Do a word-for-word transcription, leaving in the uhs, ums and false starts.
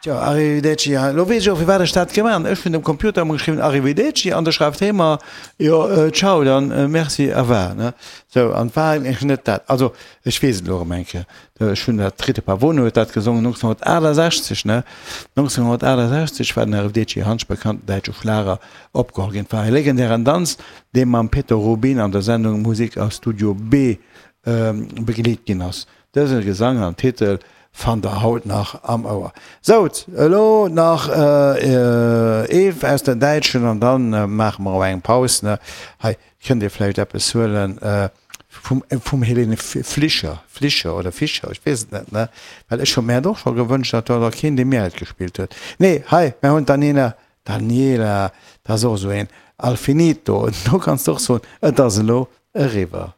Tjo, Arrivederci, ja, elo weess ech och, firwat ech dat gemaach hunn. Ech hunn dem Computer emol geschriwwen Arrivederci an da schreift hee mer, jo, ciao dann, merci, au revoir, ne? Sou, an et war eigentlech net dat. Also, ech weess et elo erëm eng Kéier, ech hunn dat, d'Rita Pavone huet dat gesongen, nonzénghonnertaachtasechzeg, ne? nonzénghonnertaachtasechzeg war den Arrivederci Hansch, bekannten däitsche Schlager, opgeholl ginn. Et war e legendären Danz, dee mam Peter Rubin an der Sendung Musik aus Studio B begleet ginn ass. Dëse Gesang an Titel fannt der haut nach am Ouer. Sout, elo nach ee aus der Däitschen an dann maache mer och eng Paus, ne? Hei kënnt dir vläicht eppes huelen vum vum Helene Flischer, Flischer oder Fischer, ech weess et net, ne? Well ech hu mär et och scho gewënscht, datt do keen dee mär et gespillt huet. Nee, hei, mär hunn d'Daniela, Daniela, dat ass och esou een, Al finito, do kanns de och soen, et ass elo eriwwer.